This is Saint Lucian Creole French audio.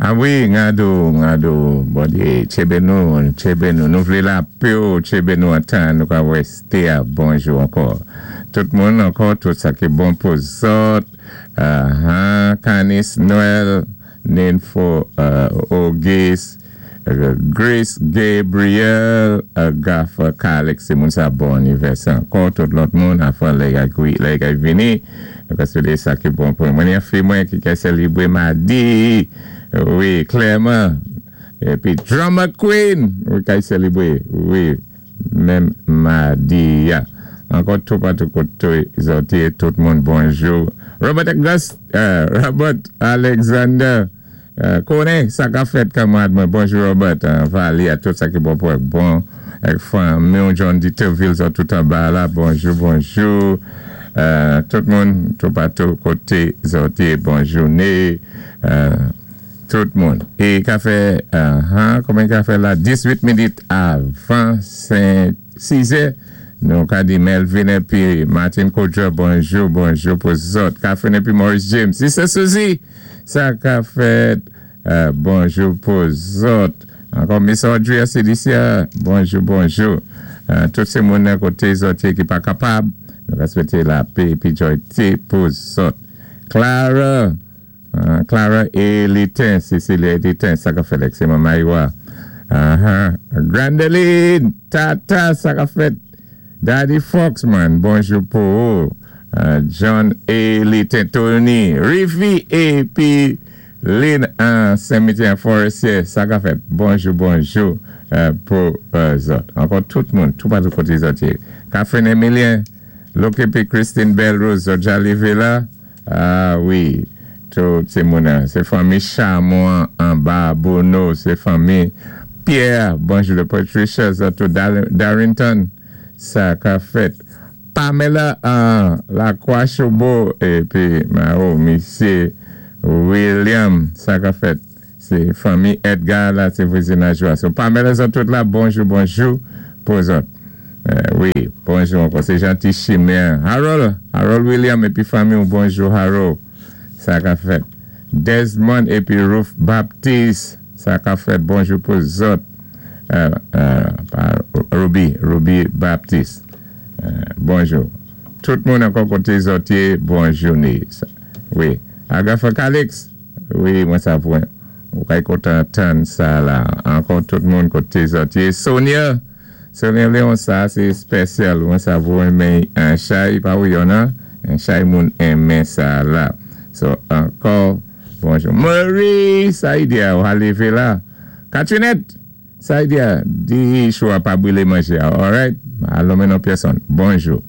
A wi, ngado, ngado, Bondyé tjébé nou, tjébé nou. Nou vlé lapé ou, tjébé nou antan nou ka wèsté a. Bonjou ankò. Tout moun ankò, tout sa ki bon pou zòt. Ahan, Kanis Noël, Ninfo Auguste, Grace Gabriel, Gaffer Calix, sé moun sa bon anivèsè ankò. Tout lòt moun, afan lè lè kay vini. Nou ka swété sa ki bon pou mwen. Yon fi mwen ki kay sélébwé madi. Wi, klèman. Épi Drama Queen, wi, kay sélébwé. Wi, menm madi ya. Ankò toupatou koté zòt yé, tout moun bonjou. Robert Auguste, Robert Alexander, konnen sa ka fèt kanmarad mwen. Bonjou Robert, Vali a tout sa ki bon pou èk bon. Èk fanmi John Dieterville zòt tout anba la. Bonjou, bonjou. Tout moun toupatou koté zòt yé, bon jouné. Tout moun. É ka fè, konbyen ka fè la? 18 minit avan 5, 6 è. Nou ka di Melvin épi Martin Kodjo, bonjou, bonjou pou zòt. Catherine épi Maurice James. Sister Suzy, sa ka fèt, bonjou pou zòt. Ankò Miss Audrey Celicia, bonjou, bonjou. Tout sé moun nan koté zòt yé ki pa kapab. Nou ka swété lapé épi jòyté pou zòt. Clara, Clara Elitin, Cecilia Elitin, sa ka fèt èk sé manman Iwa. Grandeline, Tata, sa ka fèt. Daddy Foxman, bonjou pou ou. John Elitin, Tony, Riffy épi Lynn Saint-Mitian Forestier, sa ka fèt. Bonjou, bonjou pou zòt. Ankò tout moun, toupatou koté zòt yé. Catherine Emilien, Loke épi Christine Belrose, zòt ja lévé la. A wi, tout sé moun, sé fanmi Chamon anba Bono, sé fanmi Pierre, bonjou de Patricia, zòt tout Darrington, sa ka fèt. Pamela Lacroix Chobo épi Mao, misyé William, sa ka fèt. Sé fanmi Edgar la, sé vwazinaj la. So Pamela zòt tout la, bonjou, bonjou pou zòt. Wi, bonjou ankò. Sé janti Chimère. Harold, Harold William épi fanmi ou, bonjou Harold. Sa ka fèt. Desmond épi Ruth Baptiste, sa ka fèt. Bonjou pou zòt. Ruby, Ruby Baptiste. Bonjou. Tout moun ankò koté zòt yé, bon jouné. Wi. Agatha Calix, wi, mwen sa pou ou kay kontan tann sa la. Ankò tout moun koté zòt yé. Sonia, Sonia Léon sa sé espèsyal. Mwen sa pou renmen an chay, pa ou yon nan, an chay moun enmen sa la. So, ankò, bonjou. Marie, Saïdia, ou a lévé la. Catrinette, Saïdia, di chou a pa bwilé manjé a, alright? Alò men non pèsonn. Bonjou.